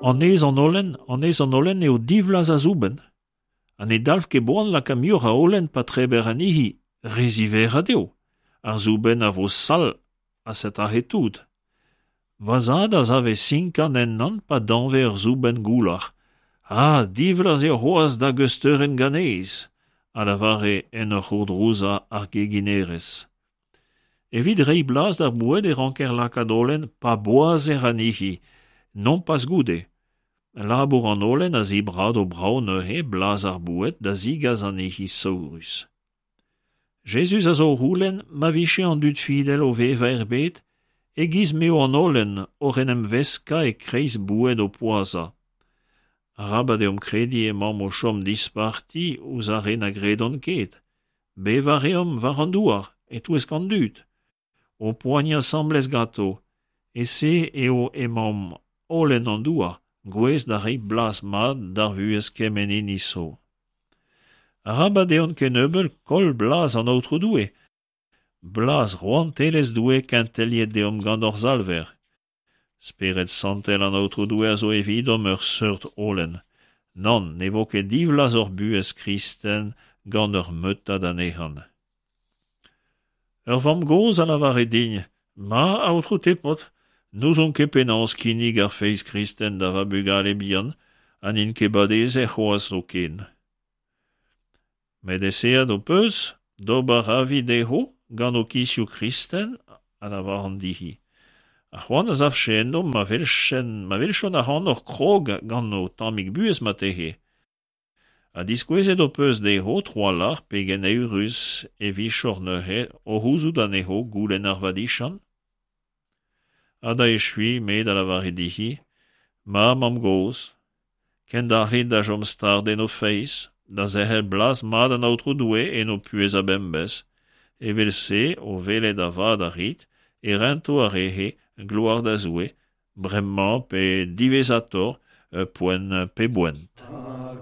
Anez an holen, anez an holen eo divlaz a zoubenn. Ha ne dalv ket boan lakaat muioc'h a holen pa treber anezhi, re ziverrat eo. Ar zoubenn a vo sall ha set' aze tout. Va zad a save sinkan ennan pa dañve ur zoubenn goular. Ah, divlaz eo c'hoazh da geusteurenn ganez, a lavare en ur c'hourdrouzañ ar geginerez. Evit reiñ blaz d'ar boued e ranker lakaat holen pa boazher anezhi, nompas goude. Labour an holen a zibrado brav neuze blaz ar boued da zigas anezhi saourus. Jezuz a zo o c'houlenn ma vije an dud fidel o vevañ er bed e-giz m'eo an holen oc'h en em veskañ e-kreiz boued o poazhañ. Arabat deomp krediñ emaomp o chom disparti ouzh ar re na gredont ket. Bevañ a reomp war an douar, e-touesk an dud, o poaniañ asambles ganto. E-se eo emaomp holen an douar, gouest da reiñ blaz mat d'ar vuhez kement hini zo. Arabat deomp kennebeut koll blaz an Aotrou Doue, blaz rouantelezh Doue kenteliet deomp gant hor Salver. Spered Santel an Aotrou Doue a zo evidomp ur seurt holen. Nann, ne vo ket divlaz hor buhez kristen gant ur meutad anezhan. Ur vamm-gozh a lavare din, Ma, Aotrou Tepod, n'ouzon ket penaos kinnig ar feiz kristen da va bugale bihan ha n'int ket badezet c'hoazh zoken. Met eseet ho peus d'ober avi dezho gant ho kizioù kristen, a lavaran dezhi. Ha c'hoant a savfe enno ma welchen ma welchont ac'hanoc'h krog gant ho tammig buhez marteze. Ha diskouezet ho peus dezho tro-walc'h pegen eürus e vijoc'h neuze o c'houzout anezho goulenn ar vadiziant? Ha da echuiñ me da lavaret dezhi, Ma mamm-gozh, kendalc'hit da chom start en ho feiz, da zerc'hel blaz mat an Aotrou Doue en ho puhez a-bemdez. Evel-se, o welet a-vat a rit, e rento ar re-se gloar da Zoue, bremañ pe diwezhatoc'h, poent pe boent.